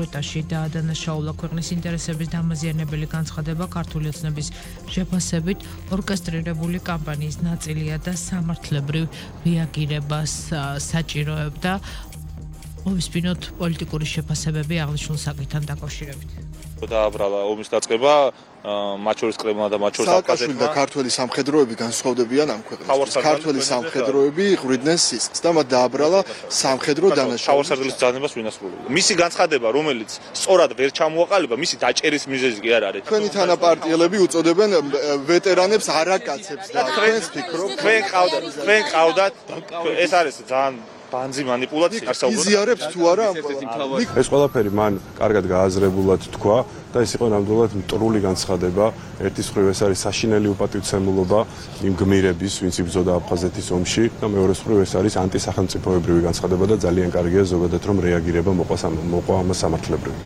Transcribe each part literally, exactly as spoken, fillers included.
ეტაში დაადანაშაულა ქვეყნის ინტერესების დამაზიანებელი განცხადება ქართული ოცნების შეფასებით ორკესტრირებული კამპანიის ნაწილია და სამართლებრივ რეაგირებას საჭიროებდა. მოვისმინოთ პოლიტიკური შეფასებები აღნიშნულ საკითხთან დაკავშირებით. დააბრალა ომის დაწყება, მათ შორის კრემლმა და მათ შორის აფხაზეთმა. და ქართველი სამხედროები განსხვავდებიან ამ ქვეყნებს. ქართველი სამხედროები ღვიდნენ სისხლს და მათ დააბრალა სამხედრო დანაშაულები. თავარსარდლის ძალებას ვინასრულებდა. მისი განცხადება, რომელიც სწორად ვერ ჩამოაყალიბა, მისი დაჭერის მიზეზი კი არ არის. თქვენი თანაპარტიელები უწოდებენ ვეტერანებს არაკაცებს და თქვენს ფიქრობთ, თქვენ ყავდათ, თქვენ ყავდათ, ეს არის ძალიან ბანძი манипуляცია არსებობს. იზიარებთ თუ არა ამ ეს ყველაფერი მან კარგად გააზრებულად თქვა და ეს იყო ნამდვილად მტრული განცხადება. ერთის მხრივ ეს არის საშინელი უპატივცემულობა იმ გმირების, ვინც იბრძოდა აფხაზეთის ომში და მეორეს მხრივ ეს არის ანტისახელმწიფოებრივი განცხადება და ძალიან კარგია ზოგადად რომ რეაგირება მოყვა მოყვა ამ სამართლებრივი.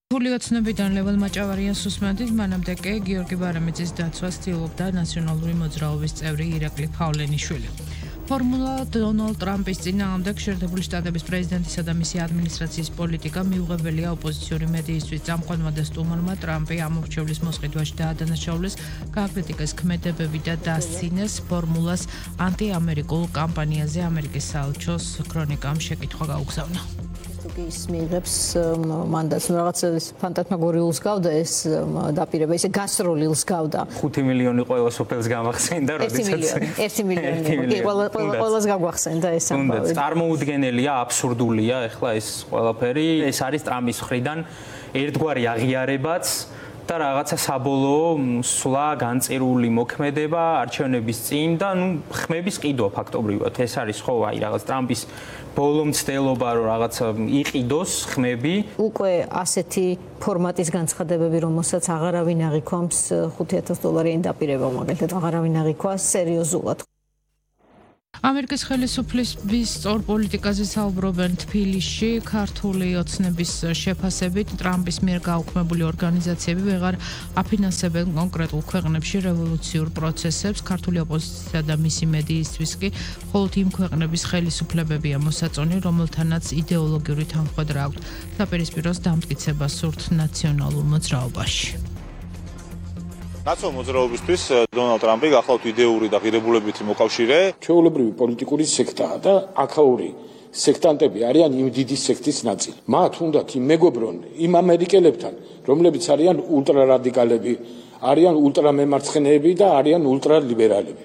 ქართული ოცნებიდან ლევან მაჭავარიანს უსმენდით, მანამდე კი გიორგი ბარამიძის დაცვას ცდილობდა ნაციონალური მოძრაობის წევრი ირაკლი ფავლენიშვილი. ფორმულა დონალდ ტრამპის წინააღმდეგ შეერთებული შტატების პრეზიდენტისა და მისი ადმინისტრაციის პოლიტიკა მიუღებელია ოპოზიციური მედიისთვის. წამყვანმა და სტუმარმა ტრამპი ამორჩევლის მოსყიდვაში დაადანაშაულეს, გააკრიტიკეს ქმედებები და დასცინეს ფორმულას ანტიამერიკულ კამპანიაზე. ამერიკის საელჩოს ქრონიკამ შეკითხვა გაუგზავნა. ის მიიღებს მანდატს, რაღაც ფანტასმაგორიულს გავდა ეს დაპირება, ისე გასტროლილს გავდა. ხუთი მილიონი ყველა სოფელს გამახსენდა, როდესაც ერთი მილიონი. ყველას გაგვახსენდა ეს ამბავი. წარმოუდგენელია, აბსურდულია ახლა ეს ყველაფერი. ეს არის ტრამპის მხრიდან ერთგვარი აღიარებაც და რაღაცა საბოლოო სვლა განწირული მოქმედება არჩევნების წინ და ნუ ხმების ყიდვა ფაქტობრივად. ეს არის ხო აი რაღაც ტრამპის ბოლო მცდელობა რომ რაღაცა იყიდოს ხმები. უკვე ასეთი ფორმატის განცხადებები, რომელსაც აღარავინ აღიქვამს ხუთი ათას დოლარიანი დაპირება, მაგალითად აღარავინ აღიქვა სერიოზულად. ამერიკის ხელისუფლების სწორ პოლიტიკაზე საუბრობენ თბილისში. ქართული ოცნების შეფასებით ტრამპის მიერ გაუქმებული ორგანიზაციები ვეღარ აფინანსებენ კონკრეტულ ქვეყნებში რევოლუციურ პროცესებს. ქართული ოპოზიცია და მისი მედიისთვის კი მხოლოდ იმ ქვეყნების ხელისუფლებებია მოსაწონი, რომელთანაც იდეოლოგიური თანხმედრა აქვთ საპირისპიროს დამტკიცება სურთ ნაციონალურ მოძრაობაში. ნაციონალურ მოძრაობისთვის დონალდ ტრამპი გახლავთ იდეური და ღირებულებითი მოკავშირე. ჩვეულებრივი პოლიტიკური სექტაა და აქაური სექტანტები არიან იმ დიდი სექტის ნაწილი. მათ უნდათ იმ მეგობრონ იმ ამერიკელებთან, რომლებიც არიან ულტრარადიკალები, არიან ულტრამემარცხენეები და არიან ულტრალიბერალები.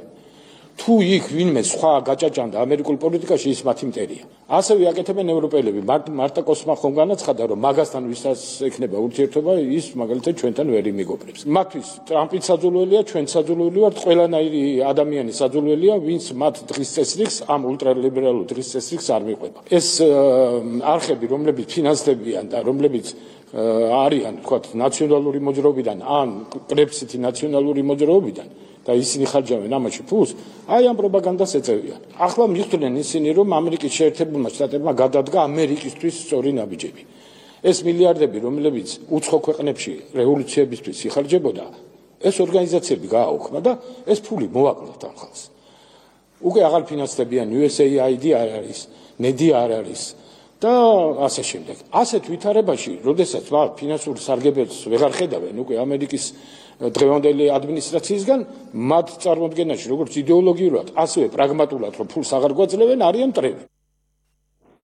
თუ იქ ვინმე სხვა გაჭაჭანდა ამერიკულ პოლიტიკაში, ის მათი მტერია. ასევე აკეთებენ ევროპელები. მარტა კოსმა ხომ განაცხადა, რომ მაგასთან ვისაც ექნება ურთიერთობა, ის მაგალითად ჩვენთან ვერ იმეგობრებს. მათთვის ტრამპიც საძულველია, ჩვენ საძულველი ვართ, ყველანაირი ადამიანი საძულველია, ვინც მათ დღის წესრიგს, ამ ულტრალიბერალურ დღის წესრიგს არ მიყვება. ეს არხები, რომლებიც ფინანსდებიან და რომლებიც არიან, თქვათ, ნაციონალური მოძრაობიდან ან კრებსითი ნაციონალური მოძრაობიდან და ისინი ხარჯავენ ამაში ფულს, აი ამ პროპაგანდას ეწევიან. ახლა მიხვდნენ ისინი, რომ ამერიკის შეერთებულმა შტატებმა გადადგა ამერიკისთვის სწორი ნაბიჯები. ეს მილიარდები, რომლებიც უცხო ქვეყნებში რევოლუციებისთვის იხარჯებოდა, ეს ორგანიზაციები გააუქმა და ეს ფული მოაკლათ ამ ხალხს. უკვე აღარ ფინანსდებიან იუ ეს ეი აი დი არ არის, ნედი არ არის და ასე შემდეგ. ასეთ ვითარებაში, როდესაც მათ ფინანსურ სარგებელს ვეღარ ხედავენ უკვე ამერიკის დღევანდელი ადმინისტრაციისგან, მათ წარმოდგენაში, როგორც იდეოლოგიურად, ასევე პრაგმატულად, რომ ფულს აღარ გვაძლევენ, არიან მტრები.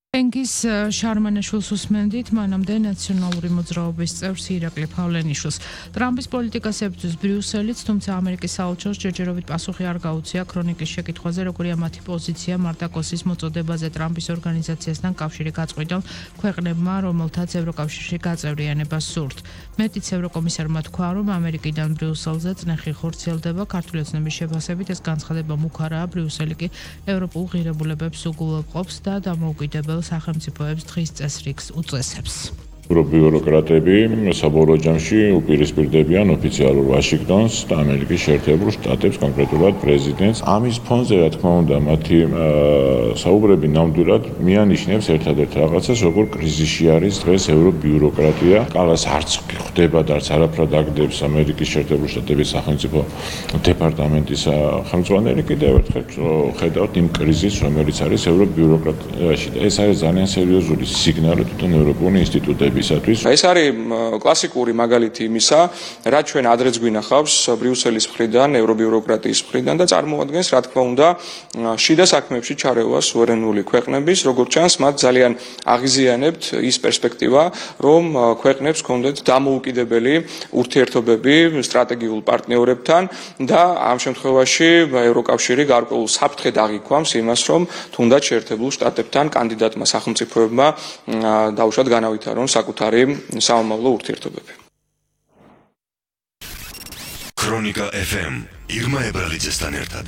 ენგის შარმანაშვილს უსმენდით, მანამდე ნაციონალური მოძრაობის წევრს ირაკლი ფავლენიშვილს. ტრამპის პოლიტიკას ებრძვის ბრიუსელიც, თუმცა ამერიკის საელჩოს ჯერჯერობით პასუხი არ გაუწია ქრონიკის შეკითხვაზე, როგორია მათი პოზიცია მარტაკოსის მოწოდებაზე ტრამპის ორგანიზაციასთან კავშირი გაწყვიტონ ქვეყნებმა, რომელთაც ევროკავშირში გაწევრიანება სურთ. მეტიც ევროკომისარმა თქვა, რომ ამერიკიდან ბრიუსელზე წნეხი ხორციელდება. ქართული ოცნების შეფასებით ეს განცხადება მუქარაა, ბრიუსელი კი ევროპულ ღირებულებებს უგულვებყოფს და დამოუკიდებელ სახელმწიფოებს დღის წესრიგს უწესებს. ბიუროკრატები საბოლოო ჯამში უპირისპირდებიან ოფიციალურ ვაშინგტონს და ამერიკის შეერთებულ შტატებს, კონკრეტულად პრეზიდენტს. ამის ფონზე, რა თქმა უნდა, მათი საუბრები ნამდვილად მიანიშნებს ერთადერთ რაღაცას, როგორ კრიზისში არის დღეს ევრობიუროკრატია. კალას არც ხვდება და არც არაფრად აგდებს ამერიკის შეერთებულ შტატების სახელმწიფო დეპარტამენტის ხელმძღვანელი. კიდევ ერთხელ ხედავთ იმ კრიზისს, რომელიც არის ევრობიუროკრატიაში და ეს არის ძალიან სერიოზული სიგნალი თვითონ ევროპული ინსტიტუტებისათვის. ეს არის კლასიკური მაგალითი იმისა, რაც ჩვენ ადრეც გვინახავს ბრიუსელის მხრიდან, ევრობიუროკრატიის მხრიდან და წარმოადგენს, რა თქმა უნდა, შიდა საქმეებში ჩარევას სუვერენული ქვეყნების, როგორც ჩანს, მათ ძალიან აღიზიანებთ ის პერსპექტივა, რომ ქვეყნებს ჰქონდეთ დამოუკიდებელი ურთიერთობები სტრატეგიულ პარტნიორებთან და ამ შემთხვევაში ევროკავშირი გარკვეულ საფრთხედ აღიქვამს იმას, რომ თუნდაც შეერთებულ შტატებთან კანდიდატმა სახელმწიფოებმა დაუშვათ განავითარონ საკუთარი სამომავლო ურთიერთობები. ქრონიკა ეფ ემ ირმა ებრალიძესთან ერთად.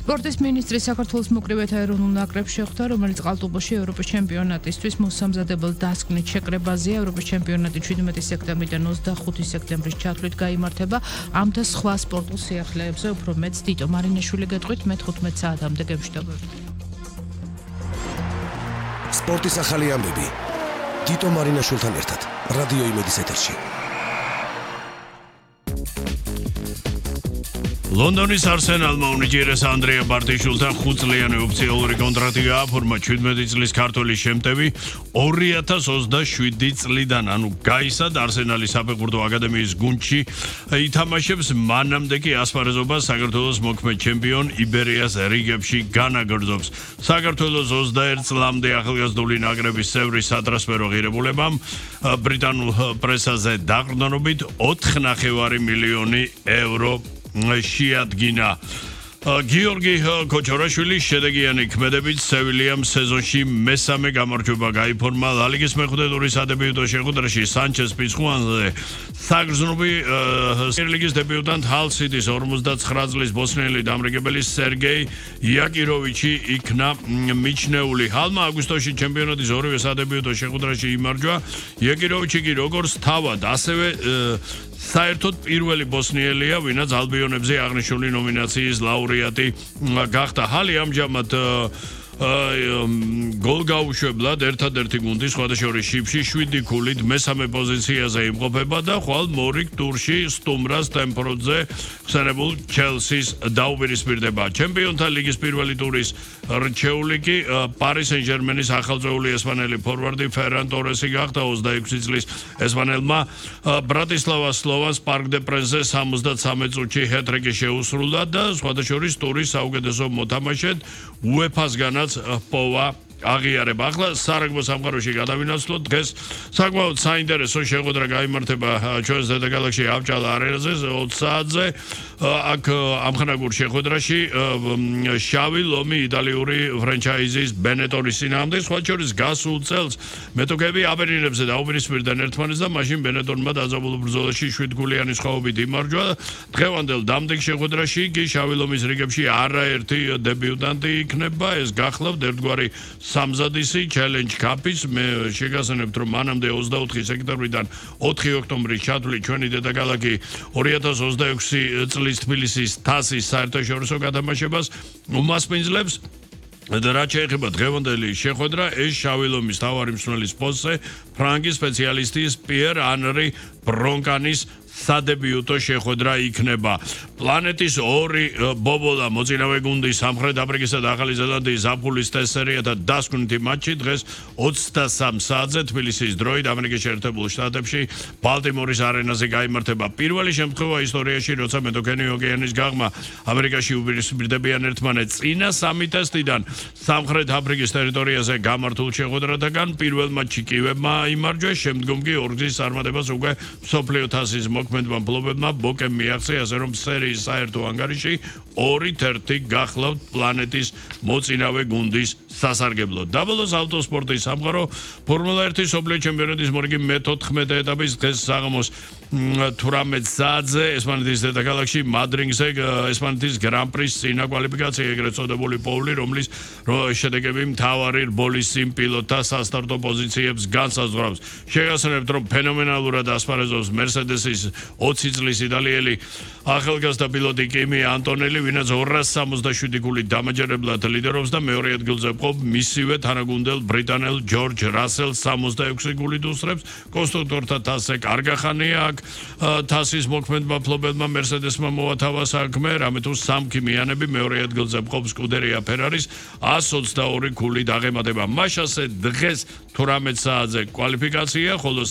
სპორტის მინისტრი საქართველოს მოკრივეთა ეროვნულ ნაკრებს შეხვდა, რომელიც ყალტუბოში ევროპის ჩემპიონატისთვის მოსამზადებელ დასკვნით შეკრებაზეა. ევროპის ჩემპიონატი შვიდმეტი სექტემბრიდან ოცდახუთი სექტემბრის ჩათვლით გაიმართება. ამ და სხვა სპორტულ სიახლეებზე უფრო მეც დიტო მარინაშვილი გეტყვით მეთხუთმეტ საათამდე გემშვიდობებით. სპორტის ახალი ამბები დიტო მარინაშვილთან ერთად რადიო იმედის ეთერში. ლონდონის არსენალმა უნიჭიერეს ანდრია ბარტიშვილთან ხუთწლიანი ოფიციალური კონტრაქტი გააფორმა შვიდმეტი წლის ქართველის შემტევი ორი ათას ოცდაშვიდი წლიდან, ანუ გაისად არსენალის საფეხბურთო აკადემიის გუნდში ითამაშებს, მანამდე კი ასპარეზობას საქართველოს მოქმედ ჩემპიონ იბერიას რიგებში განაგრძობს. საქართველოს ოცდაერთ წლამდე ახალგაზრდული ნაკრების წევრი სატრანსფერო ღირებულებამ ბრიტანულ პრესაზე დაყრდნობით ოთხ ნახევარი მილიონი ევრო შეადგინა. გიორგი კოჩორაშვილი შედეგიანი ქმედებით სევილიამ სეზონში მესამე გამარჯვება გაიფორმა. ლა ლიგის მეხუთე ტურის სადებიუტო შეხვედრაში სანჩეს პიცხუანზე საგრძნობი ლიგის დებიუტანტ ჰალ სიტის ორმოცდაცხრა წლის ბოსნიელი დამრიგებელი სერგეი იაკიროვიჩი იქნა მიჩნეული. ჰალმა აგვისტოში ჩემპიონატის ორივე სადებიუტო შეხვედრაში იმარჯვა. იაკიროვიჩი კი როგორც თავად, ასევე საერთოდ პირველი ბოსნიელია, ვინაც ალბიონებზე აღნიშნული ნომინაციის ლაურეატი გახდა. ჰალი ამჟამად გოლ გაუშვებლად ერთადერთი გუნდი სხვადასხვა შიფში შვიდი ქულით მესამე პოზიციაზე იმყოფება და ხვალ მორიგ ტურში სტუმრას ტემპროდზე ხსენებულ ჩელსის დაუპირისპირდება. ჩემპიონთა ლიგის პირველი ტურის რჩეული კი პარი სენ-ჟერმენის ახალწეული ესპანელი ფორვარდი ფერან ტორესი გახდა. ოცდაექვსი წლის ესპანელმა ბრატისლავას სლოვანს პარკ დე პრენსზე სამოცდათრამეტ წუთში ჰეტრიკი შეუსრულა და სხვადასხვა ტურის საუკეთესო მოთამაშედ უეფას-განაც პოვა აღიარება. ახლა სარაგბო სამყაროში გადავინაცვლოთ. დღეს საკმაოდ საინტერესო შეხვედრა გაიმართება ჩვენს დედაქალაქში აბჭალა არენაზე ოცი საათზე. აქ ამხანაგურ შეხვედრაში შავი ლომი იტალიური ფრენჩაიზის ბენეტონის წინააღმდეგ, სხვა შორის გასულ წელს მეტოქეები აბერინებზე დაუპირისპირდნენ ერთმანეთს და მაშინ ბენეტონმა დაძაბულ ბრძოლაში შვიდგულიანი სხვაობით იმარჯვა. დღევანდელ დამდეგ შეხვედრაში კი შავი ლომის რიგებში არაერთი დებიუტანტი იქნება. ეს გახლავთ ერთგვარი სამზადისი ჩელენჯ კაპის. მე შეგასწრებთ, რომ მანამდე ოცდაოთხი სექტემბრიდან ოთხი ოქტომბრის ჩათვლით ჩვენი დედაქალაქი ორი ათას ოცდაექვსი წლის თბილისის თასის საერთაშორისო გადამაშებას უმასპინძლებს. და რაც შეეხება დღევანდელი შეხვედრა, ეს შავი ლომის თავარი მსმენელის პოსტზე ფრანკის სპეციალისტის პიერ ანრი ბრონკანის სადებიუტო შეხვედრა იქნება. პლანეტის ორი ბობოლა მოწინავე გუნდი სამხრეთ აფრიკისა და ახალი ზელანდიის ზაფხულის ტესტსერიათა დასკვნითი მატჩი დღეს ოცდასამ საათზე თბილისის დროით ამერიკის შეერთებულ შტატებში ბალტიმორის არენაზე გაიმართება. პირველი შემთხვევა ისტორიაში, როცა მეტოქენი ოკეანის გაღმა ამერიკაში უპირისპირდებიან ერთმანეთს. წინა სამი ტესტიდან სამხრეთ აფრიკის ტერიტორიაზე გამართულ შეხვედრათაგან პირველ მატჩში კივებმა იმარჯვეს, შემდგომ კი ორგზის წარმატებას უკვე მსოფლიო თასის მოქმედმა მფლობელმა ბოკემ მიაღწია, ასე რომ სერიის საერთო ანგარიში ორი თერთი გახლავთ პლანეტის მოწინავე გუნდის სასარგებლო. დაბლოს ავტოსპორტის სამყარო ფორმულა ერთი მსოფლიო ჩემპიონატის მორიგი მეთოთხმეტე ეტაპის დღეს საღამოს თვრამეტ საათზე ესპანეთის დედაქალაქში მადრიდზე ესპანეთის გრან-პრის წინა კვალიფიკაცია ეგრეთ წოდებული პოული, რომლის შედეგები მთავარი რბოლის წინ პილოტთა სასტარტო პოზიციებს განსაზღვრავს. შეგახსენებთ, რომ ფენომენალურად ასპარეზობს მერსედესის ოცი წლის იტალიელი ახალგაზრდა პილოტი კიმი ანტონელი, ვინაც ორას სამოცდაშვიდი გულით დამაჯერებლად ლიდერობს და მეორე ადგილზე ყოფ მისივე თანაგუნდელ ბრიტანელ ჯორჯ რასელს სამოცდაექვსი გულით უსწრებს. კონსტრუქტორთა თასზე კარგახანია აქ თასის მოქმედმა ფლობელმა მერსედესმა მოათავა საქმე, რამე თუ სამქიმიანები მეორე ადგილზე ყოფ სკუდერია ფერარის ას ოცდაორი გულით აღემატება. მაშასე დღეს თვრამეტ საათზე კვალიფიკაცია, ხოლო